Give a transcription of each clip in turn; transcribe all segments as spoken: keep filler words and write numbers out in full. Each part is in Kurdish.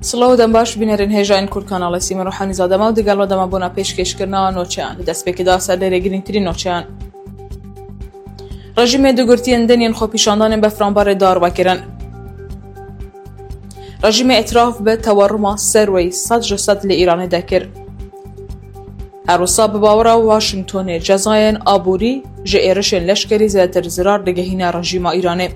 Silav û dem baş, bînerên hêja yên Kurd kanalê Sîmin Ruhanî Zadema û digel we dema bona pêşkêşkirina noçeyan. Di destpêkê de ser lêrê girîngtirîn noçeyan. Rejîmê du girtiyên din yên xwepîşandanên befranbarê dar vekirin. Rejîmê îtiraf bi tewerruma serweyî sed ji sed li Îranê de kir. Her wisa bi bawera Washingtonê cezayên aborî ji êrişên leşkerî zêdetir zirar digihîne rejîma Îranê.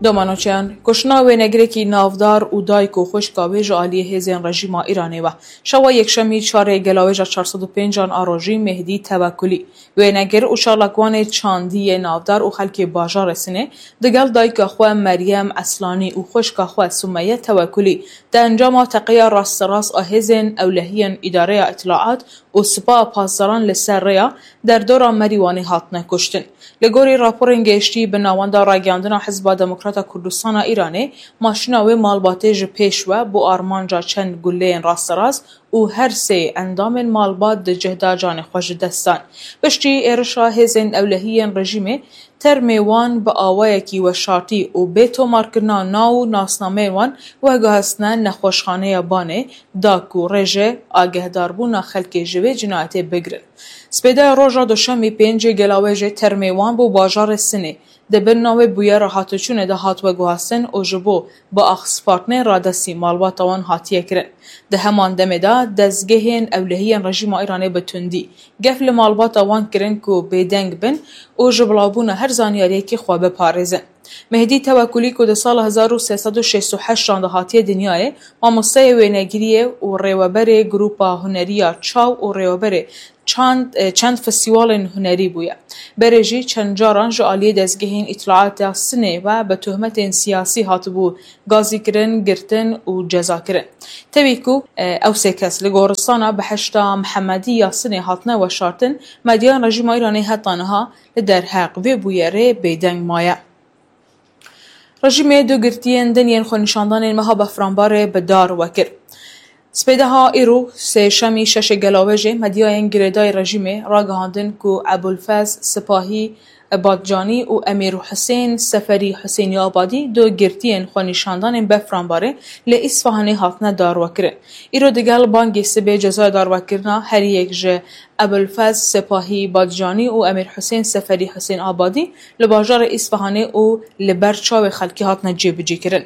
Domanoçeyan, kuştina wênegirekî navdar û dayik û xwişka wê ji aliyê hêzên rejîma Îranê ve. Şewa yekşemî çarê gelawêja çar sed û pênc an a rojî Mehdî Tewekulî, wênegir û çalakvanê çandî yê navdar û xelkê bajarê Sinê, digel dayika xwe Meryem Eslanî û xwişka xwe Sumeye Tewekulî di encama teqeya rasterast a hêzên ewlehiyên Îdareya Îtlaat û Sipaha Pasdaran li ser rêya derdora Merîwanê hatine kuştin. Li gorî raporên gehiştî, bi navenda ragihandina Hizba Demokrata Kurdistana Îranê, maşîna wê malbatê ji pêş ve bo armanca çend guleyên rasterast û her sê endamên malbat di cih de canê xwe ji dest dan. Piştî êrişa hêzên ewlehî yên rejîmê, termê wan bi awayekî weşartî û bê tomarkirina nav û nasnameyê wan veguhestine nexweşxaneya Banê da ku rê ji agehdarbûna xelkê ji vê cinayetê bigirin. Spêdeya roja duşemî pêncê gelawêjê termê wan bo bajarê Sinê di bin navê bûyera hatiçûnê de hat veguhastin û ji bo bi axspartinê radestî malbata wan hatiye kirin. Di heman demê de dezgehên ewlehiyên rejîma Îranê bi tundî gef li malbata wan kirin ku bêdeng bin û ji bilavbûna her zanyariyekî xwe biparêzin. Mehdî Tewekulî ku di sala hezar û sê sed û şêst û heşt an de hatiye dinyayê, mamosteyê wênegiriyê û rêweberê Grupa Huneriya Çaw û rêweberê çand, e, çend festîwalên hunerî bûye. Berê jî çend caran ji aliyê dezgehên îtlaata Sinê ve bi tohmetên siyasî hatibû gazîkirin, girtin û cezakirin. Tevî ku, e, ew sê kes li goristana Behişta Mihemedî ya Sinê hatine weşartin, medyayên rejîma Îranê heta niha li derheq vê bûyerê bêdeng maye. Rejîmê du girtiyên din yên xwenîşandanên meha Befranbarê bi dar ve kir. Spêdeha îro, sêşemî şeşê gelawêjê, medyayên girêdayî rejîmê ragihandin ku Ebulfez Sipahî Badcanî û Emîr Husên Seferî Husênî Abadî du girtiyên xwenîşandanên Befranbarê li Îsfahanê hatine darvekirin. Îro digel bangê sibê cezaya darvekirina her yek ji Ebulfez Sepahî Badcanî û Emîr Husên Seferî Husên Abadî li bajarê Îsfahanê û li ber çavê xelkê hatine cêbicîkirin.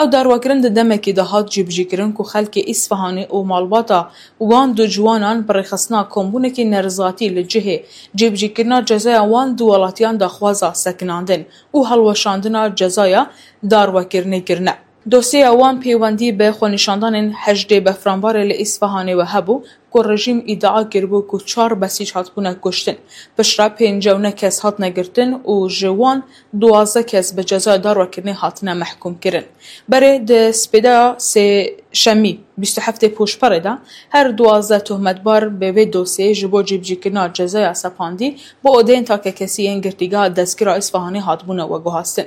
Ew darvekirin di demekê de hat cêbicîkirin ku xelkê Îsfahanê û malbata wan du ciwanan bi rêxistina kombûnekî nerizatî li cihê cêbicîkirina cezaya wan du welatiyan daxwaza sekinandin û hilweşandina cezaya darvekirinê kirine. Dosyeya wan peywendî bi xwenîşandanên hejdê Befranbarê li Îsfahanê ve hebû ku rejîm îdia kiribû ku çar besîc hatibûne kuştin. Piştre pêncî û neh kes hatine girtin û ji wan duwazdeh kes bi cezaya darvekirinê hatine mehkûmkirin. Berê di spêdeya sêşemî bîst û heftê Pûşperê de her duwazdeh tohmetbar bi vê dosyeyê ji bo cîbicîkirina cezaya sepandî bi odeyên takekesî yên girtîgeha destgîra Îsfahanê hatibûne veguhastin.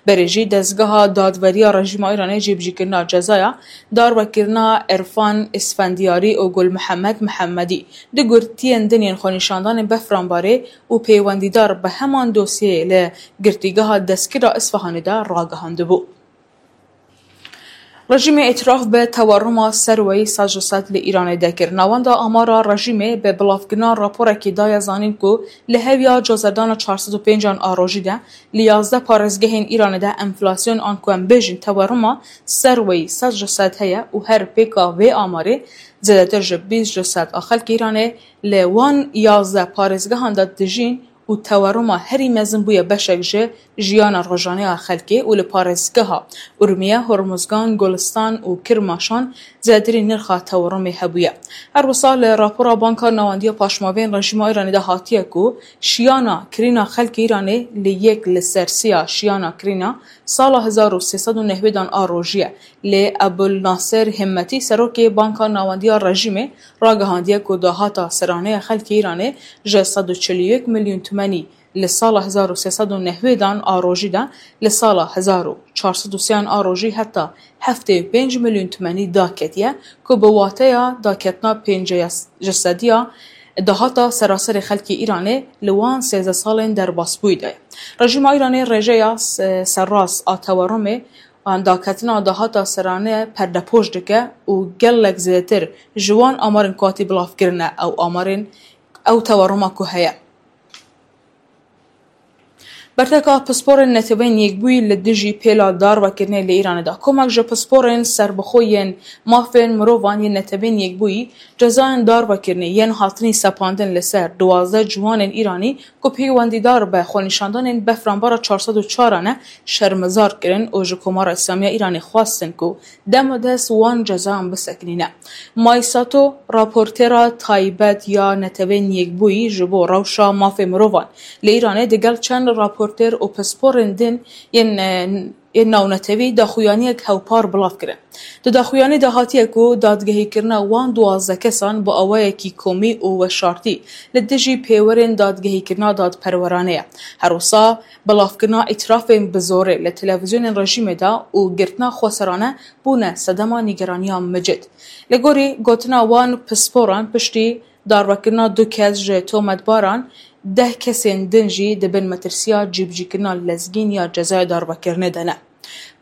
Berê jî dezgeha dadveriya rejîma Îranê cîbicîkirina cezaya darvekirina Erfan Îsfendiyarî û Gul Mihemed Mihemedî, du girtiyên din yên xwenîşandanên Befranbarê û peywendîdar bi heman dosyeyê li girtîgeha destgîra Îsfahanê de ragihandibû. Rejîmê îtiraf bi tewerruma serweyî sed ji sed li Îranê de kir. Navenda amara rejîmê bi bilavkirina raporekî daye zanîn ku li heviya cozerdana çar sed û pênc an a rojî de li yazdeh parêzgehên Îranê de enflasyon an ku em bêjin tewerruma serweyî sed ji sed heye û her pêka vê amarê zêdetir ji bîst ji sed a xelkê Îranê li wan yazdeh parêzgehan de dijîn û tewerruma herî mezin bûye beşek ji jiyana rojane ya xelkê û li parêzgeha Urmiye, Hormuzgan, Gulistan û Kirmaşan zêdetirî nirxa tewerrumê hebûye. Her wisa li rapora Banka Nawendiya Paşmavên rejîma Îranê de hatiye ku şiyana kirîna xelkê Îranê li yek li ser sê ya şiyana kirîna sala hezar û sê sed û nehwêdan a rojî ye. Lê Ebul Naser Himmetî, serokê Banka Nawendiya rejîmê, ragihandiye ku dahata serane ya xelkê Îranê ji sed û çil û yek milyon tûmenî li sala hezar û sê sed û nehwêdan a rojî de li sala hezar û çar sed û sê an a rojî heta heftê û pênc milyon tûmenî daketiye, ku bi wateya daketina pêncî ji sediya dahata seraserê xelkê Îranê li wan sêzdeh salên derbasbûyî de ye. Rejîma Îranê rêjeya se-, serrast a tewerrumê An daketina dahata serane perdepoş dike û gelek zêdetir ji wan amarên ku hatî bilavkirine ew amarên ew teweruma ku heye. Berteka pisporên Netewên Yekbûyî li dijî pêla darvekirinê li Îranê de. Komek ji pisporên serbixwe yên mafên mirovan yên Netewên Yekbûyî cezayên darvekirinê yên hatinî sepandin li ser duwazdeh ciwanên Îranî ku peywendîdar be xwenîşandanên befranbara çar sed û çar ne şermezar kirin û ji Komara Îslamî ya Îranê xwestin ku demodest wan cezayan bisekinîne. Maysato, raportêra taybet ya Netewên Yekbûyî ji bo rewşa mafê mirovan li Îranê digel çend raportêr û pisporên din yên, e, yên navnetewî daxuyaniyek hewpar bilav kirin. Di daxuyanî de hatiye ku dadgehîkirina wan duwazdeh kesan bi awayekî komî û weşartî li dijî pêwerên dadgehîkirina dadperwerane ye. Her wisa bilavkirina îtirafên bi zorê li televîzyonên rejîmê de û girtina xweserane bûne sedema nîgeraniya micid. Li gorî gotina wan pisporan piştî darvekirina du kes ji tometbaran, deh kesên din jî di bin metirsiya cîbicîkirina lezgîn ya cezaya darvekirinê de ne.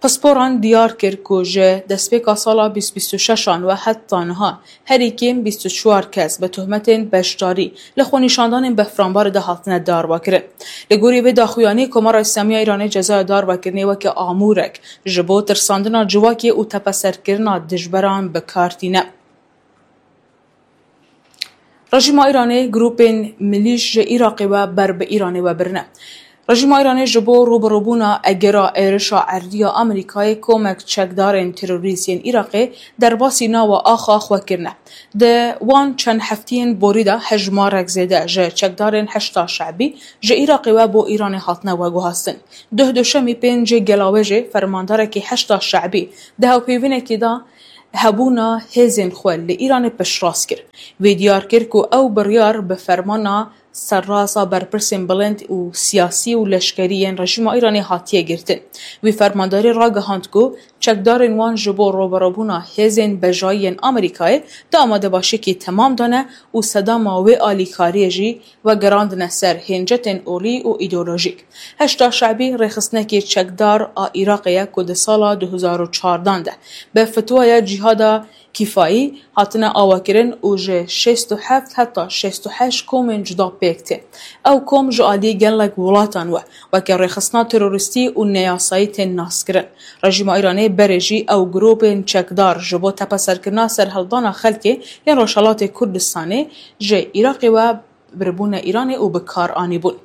Pisporan diyar kir ku ji destpêka sala bîst bîst û şeş an ve heta niha herî kêm bîst û çar kes bi tohmetên beşdarî li xwenîşandanên befranbarê de hatine darvekirin. Li gorî vê daxuyanî, Komara Îslamî ya Îranê cezaya darvekirinê weke amûrek ji bo tirsandina civakê û tepeserkirina dijberan bi kar tîne. Rejîma Îranê grûpên milîş ji Iraqê ve ber bi Îranê ve birine. Rejîma Îranê ji bo rûbirûbûna egera êrişa erdî ya Amerîkayê komek çekdarên terorîst yên Iraqê derbasî nawa axa xwe kirine. Di wan çend heftiyên borî de hejmarek zêde ji çekdarên Heşda Şebî ji Iraqê ve bo Îranê hatine veguhastin. Duh duşemî pêncê Gelawêjê fermandarekî Heşda Şebî di hevpeyvînekê de hebûna hêzên xwe li Îranê piştrast kir. Wê diyar kir ku ew biryar bi fermana serrasa berpirsên bilind û siyasî û leşkerî yên rejîma Îranê hatiye girtin. Wî fermandarî ragihand ku çekdarên wan ji bo rûbirûbûna hêzên bejayî yên Amerîkayê di amadebaşiyekî temam de ne û sedema wê alîkariyê jî vegerandine ser hêncetên olî û îdeolojîk. Heşda Şebî rêxistinekî çekdar a Iraqê ye ku di sala du hezar û çardan de bi fetwaya Cîhada Kîfayî hatine avakirin û ji şêst û heft heta şêst û heşt komên cuda pêk tê. Ew kom ji alî gelek welatan we weke rêxistina terorîstî û neyasayî tên naskirin. Rejîma Îranê berê jî ew grûpên çekdar ji bo tepeserkirina serhildana xelkê yên Rojhelatê Kurdistanê ji Iraqê we biribûne Îranê û bi kar anîbûn.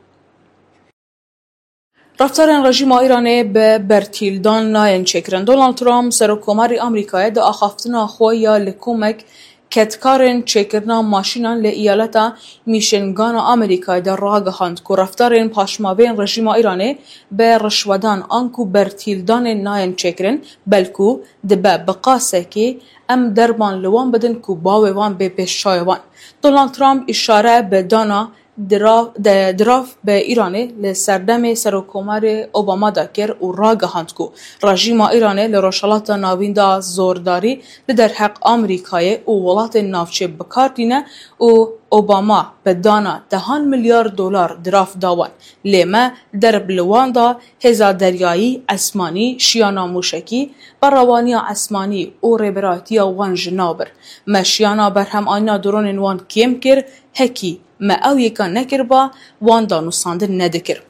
Reftarên rejîma Îranê bi bertîldan nayên çêkirin. Donald Trump, Serokkomarê Amerîkayê, di axaftina xwe ya li komek kedkarên çêkirina maşînan li eyaleta Michigana Amerîkayê de ragihand ku reftarên paşmavên rejîma Îranê bi rişwedan anku bertîldanê nayên çêkirin, belku dibe bi qasekî em derman li wan bidin ku bavê wan bê pêş çavê wan. Donald Trump îşare bi dana dirav, de, dirav bi Îranê li serdemê Serokkomarê Obama de kir û ragihand ku rejîma Îranê li Rojhelata Navîn de zordarî li derheq Amerîkayê û welatên navçê bi kar tîne û Obama bi dana dehan milyar dolar dirav da wan. Lê me derb li wan da hêza deryayî, esmanî, şiyana mûşekî, berewaniya esmanî û rêberayetiya wan ji nav bir. Me şiyana berhemanîna dronên wan kêm kir, hekî me ew yeka nekiriba, wan danûstandin nedikir.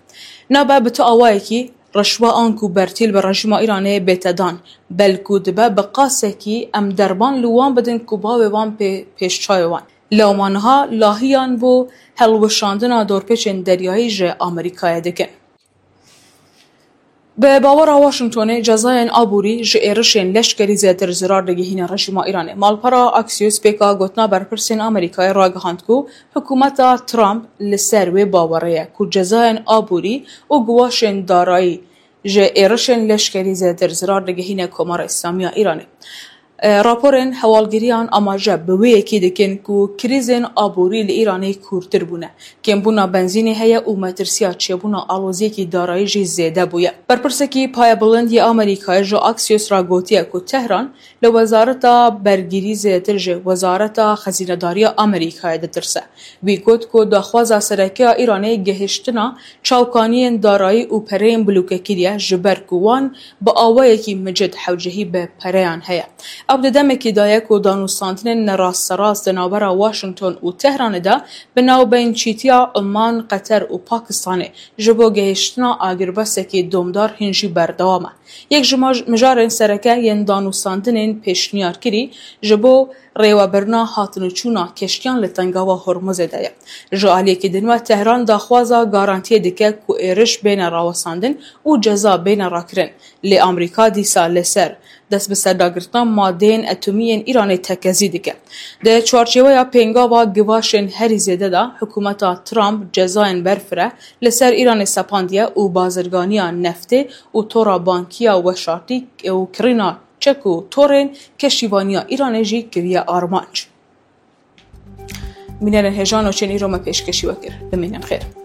Nabe bi tu awayekî rişwe anku bertîl bi rejîma Îranê bête dan, belku dibe bi qasekî em derban li wan bidin ku bavê wan pê pêşçavê wan. Lewma niha lahiyan bo helweşandina dorpêçên deryayî ji Amerîkayê dikin. Bi bawera Washingtonê cezayên aborî ji êrişên leşkerî zêdetir zirar digihîne rejîma Îranê. Malpera Axios pêka gotina berpirsên Amerîkayê ragihand ku hikûmeta Trump li ser wê bawerê ye ku cezayên aborî û guwaşên darayî ji êrişên leşkerî zêdetir zirar digihîne Komara Îslamî ya Îranê. Raporên hewalgiriyan amaje bi wê yekê dikin ku krîzên aborî li Îranê kûrtir bûne, kêmbûna benzînê heye û metirsiya çêbûna aloziyekî darayî jî zêde bûye. Berpirsekî payebilind yê Amerîkayê ji Axios re gotiye ku Tehran li Wezareta Bergirî zêdetir ji Wezareta Xezînedariya Amerîkayê ditirse. Wî got ku daxwaza sereke ya Îranê gihiştina çavkaniyên darayî û pereyên bilûkekirî ye, ji ber ku wan bi awayekî micid hewcehî bi pereyan heye. Ew di demekî de ye ku danûstandinên nerastserast di navbera Washington û Tehranê de bi navbeynçîtiya Oman, Qeter û Pakistanê ji bo gihiştina agirbestekî domdar hîn jî berdewam e. Yek ji maj-, mijarên sereke yên danûstandinên pêşniyarkirî ji bo rêwebirina hatinûçûna keştiyan li Tengava Hormuzê de ye. Ji aliyekî din ve Tehran daxwaza garantiyê dike ku êriş bêne rawestandin û ceza bêne rakirin. Lê Amerîka dîsa li ser dest bi serdagirtina madeyên etomî yên Îranê tekezî dike. Di çarçeweya pêngava givaşên herî zêde de, hikûmeta Trump cezayên berfireh li ser Îranê sepandiye û bazirganiya neftê û tora bankiya weşartî û kirîna çek û torên keştîvaniya Îranê jî kiriye armanc. Bînerên hêja, nûçeyên îro me pêşkêşî we kir. Bimînin xêr.